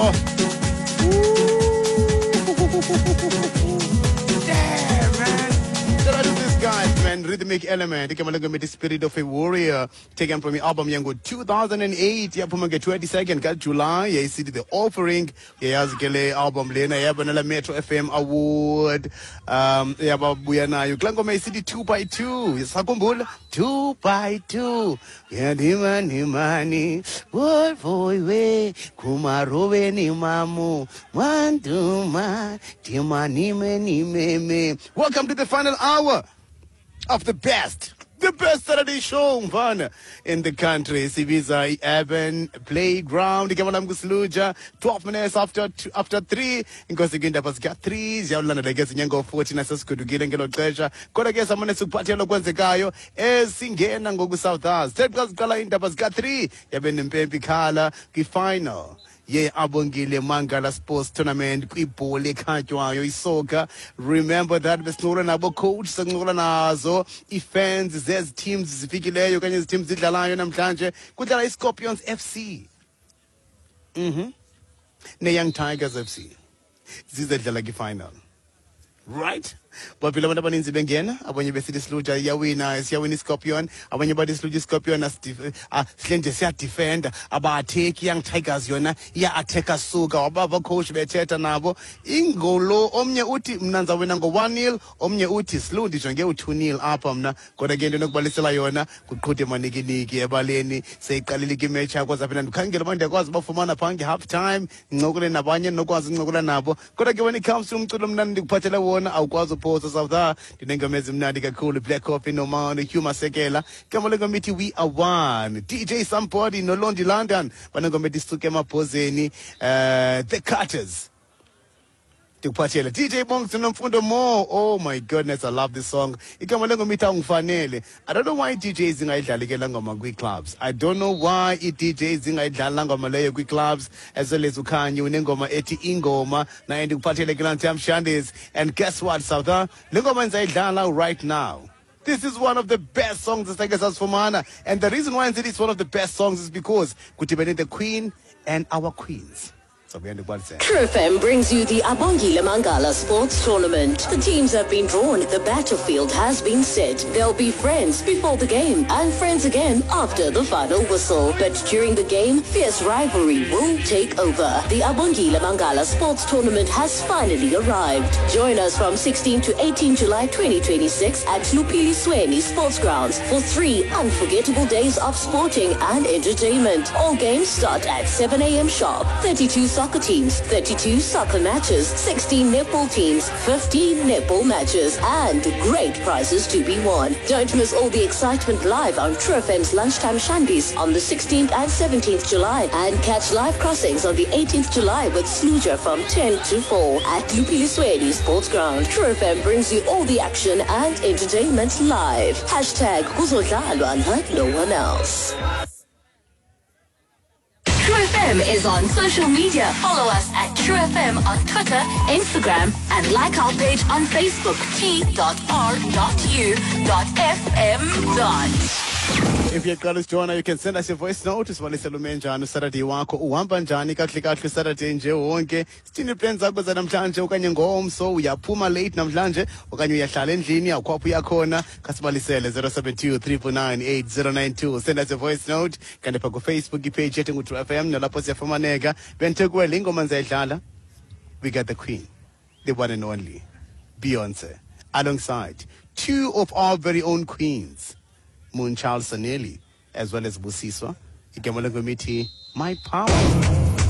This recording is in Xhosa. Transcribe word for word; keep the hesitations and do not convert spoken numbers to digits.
Oh. Damn, man. Shout out to these guys, man. Rhythmic Element. Igama lengoma ithi Spirit of a Warrior. Taken from the album yango two thousand eight. Yaphuma nge twenty-second ka July. Yayisithi The Offering. Yayazi ke le album lena yabonela Metro F M Award. Um yababuya nayo. Kulaa ngoma isithi two by two. Sakhumbula two by two. Yandimani mani. Boy boy we kumarobe ni mamu. Wanduma timani meni meme. Welcome to the final hour of the best, the best Saturday show, mfana, in the country. Sibiza Urban Playground. Igama lam nguSluja. twelve minutes after two, after three. Inkosi kwindaba zika three. Ziyawulandela ke zinyango fourteen asesigudukile ngelo xesha. Kodwa ke samane sikuphathela okwenzekayo esingena ngoku South Us. Sithe xa ziqala iindaba zika three yabe nempempe ikhala kwi-final ye Abongile Mangala Sports Tournament kwibhola ekhatywayo isoccer. Remember that besincokola nabo coach, sincokola nazo ii-fans zezi teams zifikileyo okanye ezi teams zidlalayo namhlanje. Kudlala iScorpions F C mhm neYoung Tigers F C zizedlala kwi-final. Right? Baphila abantu abaninzi bengena, abanye besithi Sluja iyawina, siyawina iScorpion, abanye bathi Sluja iScorpion sihle nje siyadefenda, aba-attack Young Tigers yona iya-attacka suka. Wabava coach bethetha nabo ingolo, omnye uthi mna ndizawina ngo-one nil, omnye uthi Slu ndijonge u-two nil apha mna. Kodwa ke into enokubalisela yona kuqhude manikiniki ebaleni, seyiqalile ke imatch yakho zaphinda ndikhangele uba ndiyakwazi ubafumana phaa nge-half time, ndincokole nabanye ndinokwazi uncokola nabo. Kodwa ke when it comes to umculo mna ndikuphathele wona awukwazi uphosa South. Ndinengoma ezimnandi kakhulu, Black Coffee noMano, Hugh Masekela. Igama lengoma ithi We Are One. D J Somebody noLondi London banengoma ethi Suke Emabhozeni, uh, The Cutters. Ndikuphathele D J Bongs noMfundo Mo. Oh my goodness, I love this song. Igama lengoma ithi Awungifanele. I don't know why D Js zingayidlali ke laa ngoma kwii-clubs. I don't know why ii-D Js zingayidlali laa ngoma leyo kwii-clubs. As well as uKhanyi unengoma ethi Ingoma. Naye ndikuphathele ke laa Ntam Shandis. And guess what, South? Le ngoma ndizayidlala right now. This is one of the best songs esake sasifumana. And the reason why I said it's one of the best songs is because kudibene the Queen and our queens. True F M brings you the Abongile Mangala Sports Tournament. The teams have been drawn. The battlefield has been set. They'll be friends before the game and friends again after the final whistle. But during the game, fierce rivalry will take over. The Abongile Mangala Sports Tournament has finally arrived. Join us from sixteenth to eighteenth July twenty twenty-six at Lupilisweni Sports Grounds for three unforgettable days of sporting and entertainment. All games start at seven A M sharp. thirty-two soccer teams, thirty-two soccer matches, sixteen netball teams, fifteen netball matches, and great prizes to be won. Don't miss all the excitement live on True F M's Lunchtime Shandies on the sixteenth and seventeenth July, and catch live crossings on the eighteenth July with Sluja from ten to four at Lupilisweni Sports Ground. True F M brings you all the action and entertainment live. Hashtag Kuzodlalwa like no one else. True F M is on social media. Follow us at True F M on Twitter, Instagram, and like our page on Facebook, T dot R dot U dot F M dot. If you're glad to join, you can send us your voice note. Sibalisele ume njani uSaturday wakho, uhamba njani kakuhle kakuhle Saturday nje wonke. Sithini plans zakho zanamhlanje okanye ngomso, uyaphuma late namhlanje okanye uyahlala endlini awukho apho uyakhona. Khasibalisele zero seven two three four nine eight zero nine two. Send us your voice note. Kanti pha ku Facebook ipage yethu ngu True F M nalapho siyafumaneka. Benthe kuwe le ngoma ndizayidlala. We got the queen, the one and only Beyonce, alongside two of our very own queens, Moonchild Sanelly, as well as Busiswa. Igama lengoma ithi My Power.